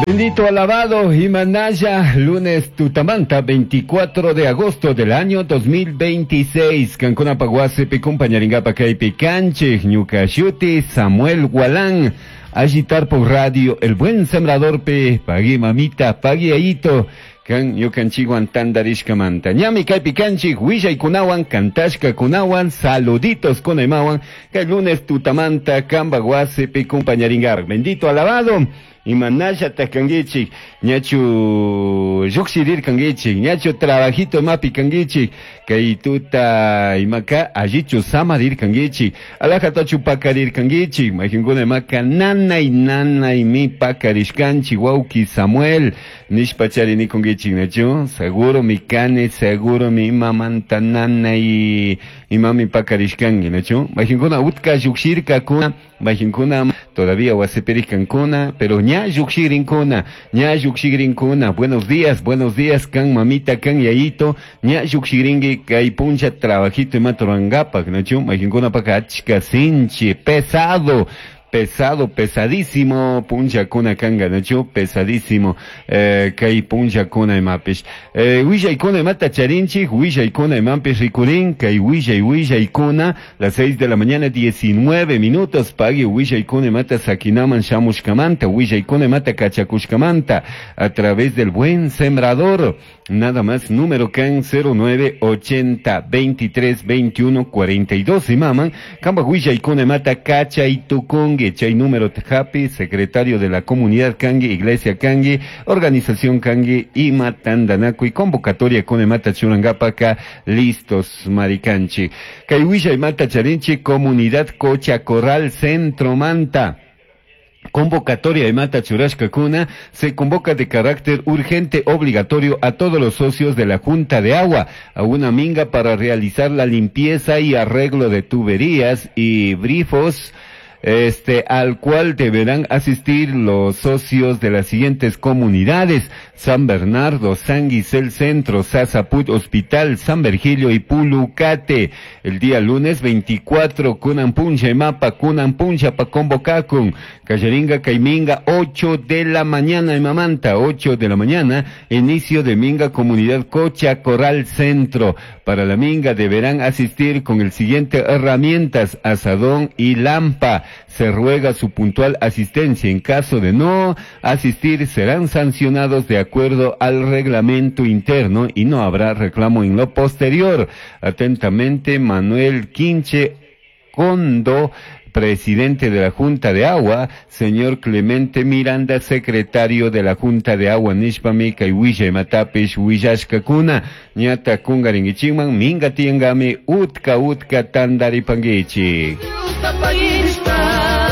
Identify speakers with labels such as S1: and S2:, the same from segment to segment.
S1: Bendito alabado Himanaya, lunes tutamanta, 24 de agosto del año 2026. Cancuna paguasepi compañaringapa kaypi kanchik, ñuka shuti, Samuel Gualán. Agitar por radio, el buen sembrador pe, pagui mamita, pagui ayito, kan ñukanchikwan tantarishkamanta. Ñami kaypi kanchik, willaykunawan, kantashkakunawan, saluditos kunaymawan, kay lunes tutamanta, kamba wasipi compañaringar. Bendito alabado. Imanalla kanguichik, ñachu llukshirir kanguichik, ñachu trabajito mapi kanguichik, kay tuta imaka allichu samarir kanguichik, alajatachu pakarir kanguichik, majinkuna imaka nanay nanay mi pakarishkanchik, wauki Samuel, nishpachari nikunguichik nachu, seguro mi kani, seguro mi imamanta nanay imami pakarishkanki nachu, majinkuna utka llukshirkakuna, majinkuna todavía wasipirishkankuna, pero ña llukshirinkuna, ña llukshirinkuna, buenos días, kan mamita, kan yayito, ña llukshirinki kay puncha trabajito imata rurankapak, nachu, majinkuna paka achka sinchi, pesado, pesado, pesadísimo, puncha kuna kanga, nachu, pesadísimo, kay puncha kuna imapish. Willaykuna imata charinchik, willaykuna imapish rikurin, kay willay, willaykuna, las 6 de la mañana, 19 minutos, pagui willaykuna imata sakinaman shamushkamanta, willaykuna imata kachakushkamanta, a través del buen sembrador, nada más, número kan 09 80 23 21 42, imaman, kamba willaykuna imata kachaytukunki, chay número tjapi, secretario de la comunidad Kangi, Iglesia Kangi, Organización Kangi, Ima Tandanaku y convocatoria con Mata Churangapaka, listos, Maricanchi. Kayhuilla y Mata Charinchi, Comunidad Cocha Corral, Centro Manta. Convocatoria de Mata Churashka Kuna se convoca de carácter urgente obligatorio a todos los socios de la Junta de Agua a una minga para realizar la limpieza y arreglo de tuberías y grifos, al cual deberán asistir los socios de las siguientes comunidades: San Bernardo, San Guisel Centro, Sasaput Hospital, San Virgilio y Pulucate. El día lunes 24, Kunampuncha y Mapa, Kunampuncha pa convocacun, Callaringa, Caiminga, 8 de la mañana en Mamanta, 8 de la mañana, inicio de Minga, Comunidad Cocha, Corral Centro. Para la Minga deberán asistir con el siguiente herramientas: asadón y lampa. Se ruega su puntual asistencia. En caso de no asistir, serán sancionados de acuerdo al reglamento interno y no habrá reclamo en lo posterior. Atentamente, Manuel Quinche Condo, presidente de la Junta de Agua, señor Clemente Miranda, secretario de la Junta de Agua, Nishpami, Kayhuilla, Matapish, Huillashkakuna, Ñata Kungaringichiman, Minga Tiengami, Utka Utka Tandaripanguichi.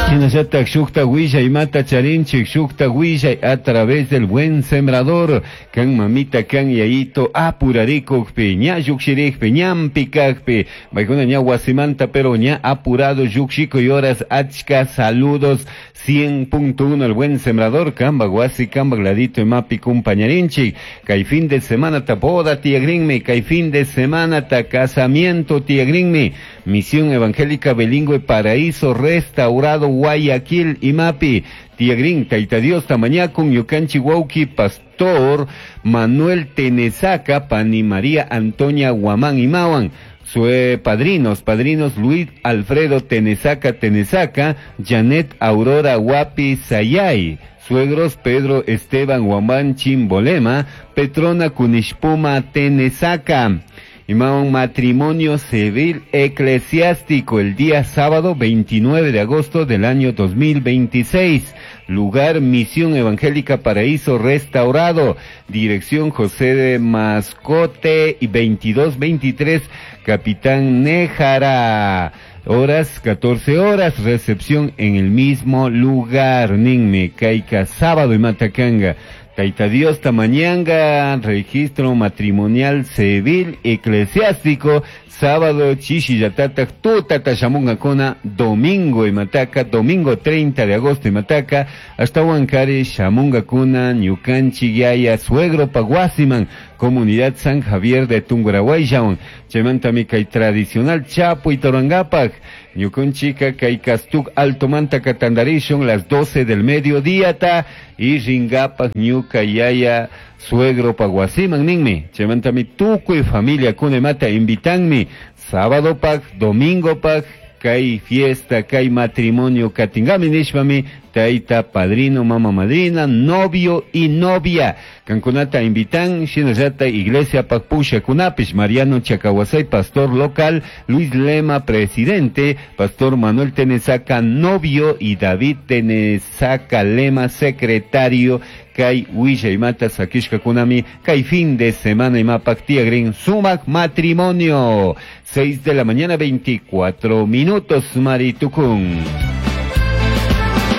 S1: Shinallatak shukta willay mata charinchik, shukta willay a través del buen sembrador, kan mamita kan yayito apurarikukpi, ña llukshirikpi, ñampikakpi, maykuna ña wasimanta pero ña apurado llukshiko y horas achka saludos 100.1 el buen sembrador, kamba wasi, kamba gladito y mapi compañarinchik, kay fin de semana ta boda tiagrinmi, kay fin de semana ta casamiento tiagrinmi, Misión Evangélica Bilingüe Paraíso Restaurado Guayaquil y Mapi, Tiagrin, Taita Dios, Tamañacun, Yucanchi, Huauqui, Pastor Manuel Tenesaca, Pani María Antonia Guamán y Mawan. Sue padrinos, padrinos Luis Alfredo Tenesaca Tenesaca, Janet Aurora Guapi Sayay, suegros Pedro Esteban Guamán Chimbolema, Petrona Cunishpuma Tenesaca. Y un matrimonio civil eclesiástico el día sábado 29 de agosto del año 2026. Lugar Misión Evangélica Paraíso Restaurado. Dirección José de Mascote y 2223 Capitán Néjara. Horas, 14 horas, recepción en el mismo lugar. Ninme, Caica, sábado y Matacanga. Taita Dios Tamañanga, registro matrimonial civil eclesiástico, sábado chishi yatata, tutata shamunga domingo y mataca, domingo 30 de agosto y mataca, hasta Huancari, shamunga kuna, ñukanchi yaya, suegro paguasiman, Comunidad San Javier de Tungurahuayllawan. Chaymantami kay tradicional chapuyta rurangapak ñukunchika kay Castuc Altomanta katandarishun las 12 del mediodía ta y ringapak ñuka yaya suegro pa wasiman ninmi. Chaymantami tukuy familia kunemata invitanmi sábado pak, domingo pak, kay fiesta, kay matrimonio katingami nishpami taita, padrino, mama madrina, novio y novia. Kankunata invitan, shinallata iglesia pak pushakunapish, Mariano Chacahuasay, pastor local, Luis Lema, presidente, pastor Manuel Tenesaca, novio, y David Tenesaca Lema, secretario, kay willaymata sakishkakunami, kay fin de semana imapak tiagrin sumak matrimonio. 6 de la mañana, 24 minutos, Maritucún.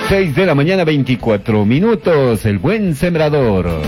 S1: 6 de la mañana, 24 minutos, el buen sembrador.